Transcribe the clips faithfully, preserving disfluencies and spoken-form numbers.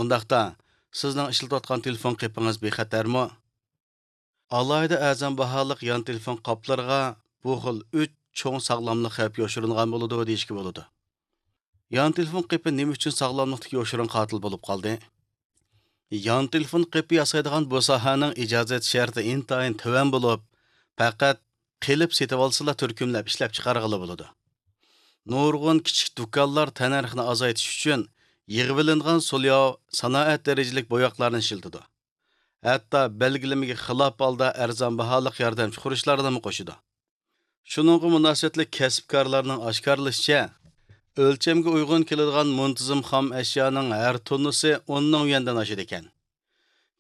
ئۇنداقتا، سىزنىڭ ئىشلىتىۋاتقان تېلېفون قېپىڭىز بىخەتەرمۇ؟ ئالاھىدە ئەرزان باھالىق يان تېلېفون قاپلىرىغا بۇ خىل ئۈچ چوڭ ساغلاملىق خەۋپ يوشۇرۇنغان بولىدۇ دېيىشكە بولىدۇ. يان تېلېفون قېپى نېمە ئۈچۈن ساغلاملىقتىكى يوشۇرۇن قاتىل بولۇپ قالدى؟ يان تېلېفون قېپى ياسايدىغان بۇ ساھەنىڭ ئىجازەت شەرتى ئىنتايىن تۆۋەن بولۇپ، پەقەت قېلىپ سېتىۋالسىلا تۈركۈملەپ ئىشلەپچىقارغىلى بولىدۇ. نۇرغۇن كىچىك دۇكانلار تەننەرخنى ئازايتىش ئۈچۈن يىغىۋېلىنغان سولياۋ سانائەت دەرىجىلىك بوياقلارنى ئىشلىتىدۇ. ھەتتا بەلگىلىمىگە خىلاپ ھالدا ئەرزان باھالىق ياردەمچى خۇرۇچلارنىمۇ قوشىدۇ. شۇنىڭغىمۇ مۇناسىۋەتلىك كەسىپكارلارنىڭ ئاشكارىلىشىچە، ئۆلچەمگە ئۇيغۇن كېلىدىغان مۇنتىزىم خام ئەشيانىڭ ھەر توننىسى ئون مىڭ يۈەندىن ئاشىدىكەن.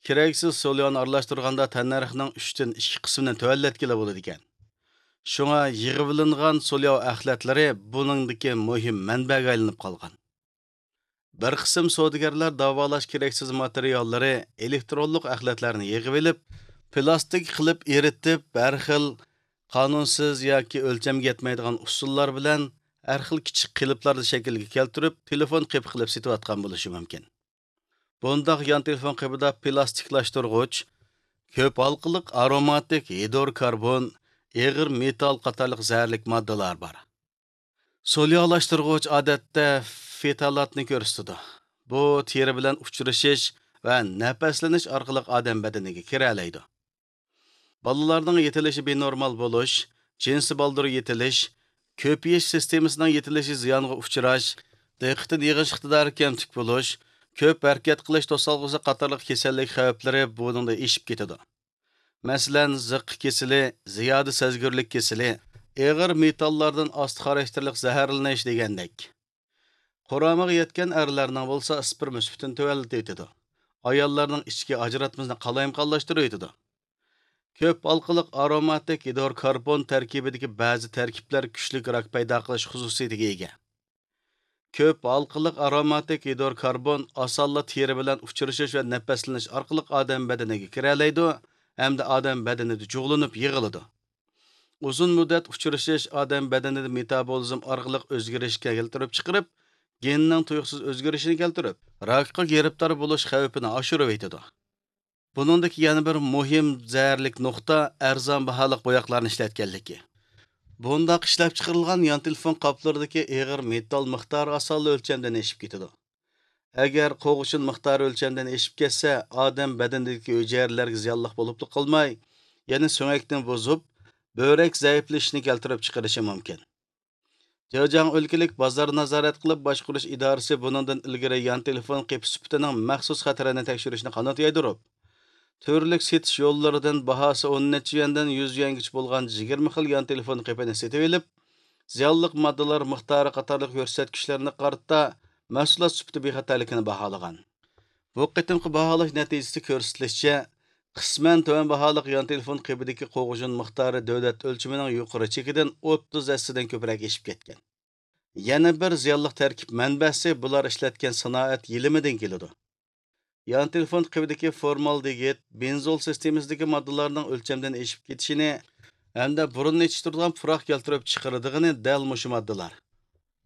كېرەكسىز سولياۋنى ئارىلاشتۇرغاندا تەننەرخنىڭ ئۈچتىن ئىككى قىسمىنى تۆۋەنلەتكىلى بولىدىكەن. شۇڭا يىغىۋېلىنغان سولياۋ ئەخلەتلىرى بۇنىڭدىكى مۇھىم مەنبەگە ئايلىنىپ قالغان. بىر قىسىم سودىگەرلەر داۋالاش كېرەكسىز ماتېرىياللىرى، ئېلېكترونلۇق ئەخلەتلەرنى يىغىۋېلىپ، پىلاستىك قىلىپ ئېرىتىپ، ھەر خىل قانۇنسىز ياكى ئۆلچەمگە يەتمەيدىغان ئۇسۇللار بىلەن ھەر خىل كىچىك قېلىپلارنى شەكىلگە كەلتۈرۈپ، تېلېفون قېپى قىلىپ سېتىۋاتقان بولۇشى مۇمكىن. بۇنداق يان تېلېفون قېپىدا پىلاستىكلاشتۇرغۇچ، كۆپ ھالقىلىق ئاروماتىك ھىدروكاربون، ئېغىر مېتال قاتارلىق زەھەرلىك ماددىلار بار. سولياۋلاشتۇرغۇچ ئادەتتە فىتالاتنى كۆرسىتىدۇ. بۇ تېرە بىلەن ئۇچرىشىش ۋە نەپەسلىنىش ئارقىلىق ئادەم بەدىنىگە كىرەلەيدۇ. بالىلارنىڭ يېتىلىشى بىنورمال بولۇش، جىنسىي بالدۇر يېتىلىش، كۆپىيىش سىستېمىسىنىڭ يېتىلىشى زىيانغا ئۇچراش، دىققىتىنى يىغىش ئىقتىدارى كەمتۈك بولۇش، كۆپ ھەرىكەت قىلىش توسالغۇسى قاتارلىق كېسەللىك خەۋپلىرى بۇنىڭدا ئېشىپ كېتىدۇ. مەسىلەن، زىققا كېسىلى، زىيادە سەزگۈرلۈك كېسىلى، ئېغىر مېتاللاردىن ئاستا خاراكتېرلىك زەھەرلىنىش دېگەندەك. قۇرامىغا يەتكەن ئەرلەرنىڭ بولسا ئىسپېرم سۈپىتىنى تۆۋەنلىتىۋېتىدۇ. ئاياللارنىڭ ئىچكى ئاجراتمىسىنى قالايمىقانلاشتۇرۇۋېتىدۇ. كۆپ ھالقىلىق ئاروماتىك گىدروكاربون تەركىبىدىكى بەزى تەركىبلەر كۈچلۈك راك پەيدا قىلىش خۇسۇسىيىتىگە ئىگە. كۆپ ھالقىلىق ئاروماتىك گىدروكاربون ئاسانلا تېرە بىلەن ئۇچرىشىش ۋە نەپەسلىنىش ئارقىلىق ئادەم بەدىنىگە كىرەلەيدۇ ھەمدە ئادەم بەدىنىدە جۇغلىنىپ يىغىلىدۇ. ئۇزۇن مۇددەت ئۇچرىشىش ئادەم بەدىنىدە مېتابولىزم ئارقىلىق ئۆزگىرىشكە كەلتۈرۈپ چىقىرىپ، گېننىڭ تۇيۇقسىز ئۆزگىرىشىنى كەلتۈرۈپ، راكقا گىرىپتار بولۇش خەۋپىنى ئاشۇرۇۋېتىدۇ. بۇنىڭدىكى يەنە بىر مۇھىم زەھەرلىك نۇقتا ئەرزان باھالىق بوياقلارنى ئىشلەتكەنلىكى. بۇنداق ئىشلەپچىقىرىلغان يان تېلېفون قاپلىرىدىكى ئېغىر مېتال مىقدارى ئاسانلا ئۆلچەمدىن ئېشىپ كېتىدۇ. ئەگەر قوغۇشۇن مىقدارى ئۆلچەمدىن ئېشىپ كەتسە، ئادەم بەدىنىدىكى ھۈجەيرىلەرگە زىيانلىق بولۇپلا قالماي، يەنە سۆڭەكنى بۇزۇپ، بۆرەك زەئىپلىشىشنى كەلتۈرۈپ چىقىرىشى مۇمكىن. جېجياڭ ئۆلكىلىك بازار نازارەت قىلىپ باشقۇرۇش ئىدارىسى بۇنىڭدىن ئىلگىرى يان تېلېفون قېپى سۈپىتىنىڭ مەخسۇس خەتىرىنى تەكشۈرۈشنى قانات يايدۇرۇپ، تۈرلۈك سېتىش يوللىرىدىن باھاسى ئون نەچچە يۈەندىن يۈز يۈەنگىچە بولغان يىگىرمە خىل يان تېلېفون قېپىنى سېتىۋېلىپ، زىيانلىق ماددىلار مىقدارى قاتارلىق كۆرسەتكۈچلەرنى قارىتا مەھسۇلات سۈپىتى بىخەتەرلىكىنى باھالىغان. بۇ قېتىمقى باھالاش نەتىجىسىدە كۆرسىتىلىشىچە، قىسمەن تۆۋەن باھالىق يان تېلېفون قېپىدىكى قوغۇشۇن مىقدارى دۆلەت ئۆلچىمىنىڭ يۇقىرى چېكىدىن ئوتتۇز ھەسسىدىن كۆپرەك ئېشىپ كەتكەن. يەنە بىر زىيانلىق تەركىب مەنبەسى بۇلار ئىشلەتكەن سانائەت يېلىمىدىن كېلىدۇ. يان تېلېفون قېپىدىكى فورمالدېگىد، بېنزول سىستېمىسىدىكى ماددىلارنىڭ ئۆلچەمدىن ئېشىپ كېتىشىنى ھەمدە بۇرۇننى يېتىشتۈرىدىغان پۇراق كەلتۈرۈپ چىقىرىدىغىنى دەل مۇشۇ ماددىلار.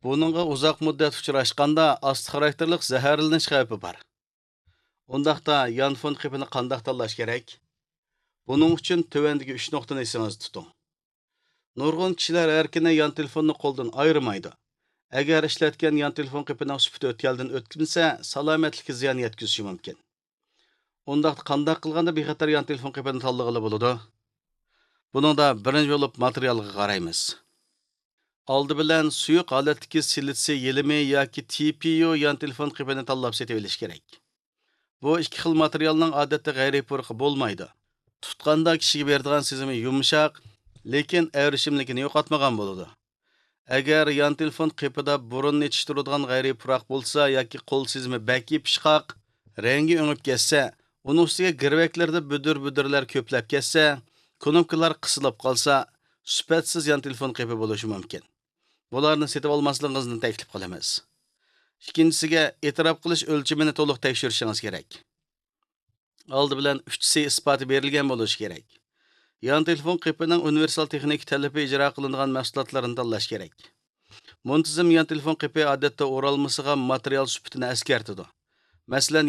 بۇنىڭغا ئۇزاق مۇددەت ئۇچراشقاندا ئاستا خاراكتېرلىق زەھەرلىنىش خەۋپى بار. ئۇنداقتا يانفون قېپىنى قانداق تاللاش كېرەك؟ بۇنىڭ ئۈچۈن تۆۋەندىكى ئۈچ نۇقتىنى ئېسىڭىزدە تۇتۇڭ. نۇرغۇن كىشىلەر ئەركىنە يان تېلېفوننى قولدىن ئايرىمايدۇ. ئەگەر ئىشلەتكەن يان تېلېفون قېپىنىڭ سۈپىتى ئۆتكەلدىن ئۆتمىسە، سالامەتلىككە زىيان يەتكۈزۈشى مۇمكىن. ئۇنداقتا قانداق قىلغاندا بىخەتەر يان تېلېفون قېپىنى تاللىغىلى بولىدۇ؟ بۇنىڭدا بىرىنچى بولۇپ ماتېرىيالغا قارايمىز. ئالدى بىلەن سۇيۇق ھالەتتىكى سىلىتسىي يېلىمى ياكى تىپىيۇ يان تېلېفون قېپىنى تاللاپ سېتىۋېلىش كېرەك. بۇ ئىككى خىل ماتېرىيالنىڭ ئادەتتە غەيرىي پۇرىقى بولمايدۇ. تۇتقاندا كىشىگە بېرىدىغان سېزىمى يۇمشاق، لېكىن ئەۋرىشىملىكىنى يوقاتمىغان بولىدۇ. ئەگەر يان تېلېفون قېپىدا بۇرۇننى يېتىشتۈرىدىغان غەيرىي پۇراق بولسا ياكى قول سېزىمى بەك يېپىشقاق، رەڭگى ئۆڭۈپ كەتسە، ئۇنىڭ ئۈستىگە گىرۋەكلىرىدە بۈدۈر-بۈدۈرلەر كۆپلەپ كەتسە، كۇنۇپكىلار قىسىلىپ قالسا، سۈپەتسىز يان تېلېفون قېپى بولۇشى مۇمكىن. بۇلارنى سېتىۋالماسلىقىڭىزنى تەكلىپ قىلىمىز. ئىككىنچىسىگە، ئېتىراپ قىلىش ئۆلچىمىنى تولۇق تەكشۈرۈشىڭىز كېرەك. ئالدى بىلەن ئۈچ سى ئىسپاتى بېرىلگەن بولۇشى كېرەك. يان تېلېفون قېپىنىڭ ئۇنىۋېرسال تېخنىكا تەلىپى ئىجرا قىلىنغان مەھسۇلاتلىرىنى تاللاش كېرەك. مۇنتىزىم يان تېلېفون قېپى ئادەتتە ئورالمىسىغا ماتېرىيال سۈپىتىنى ئەسكەرتىدۇ. مەسىلەن،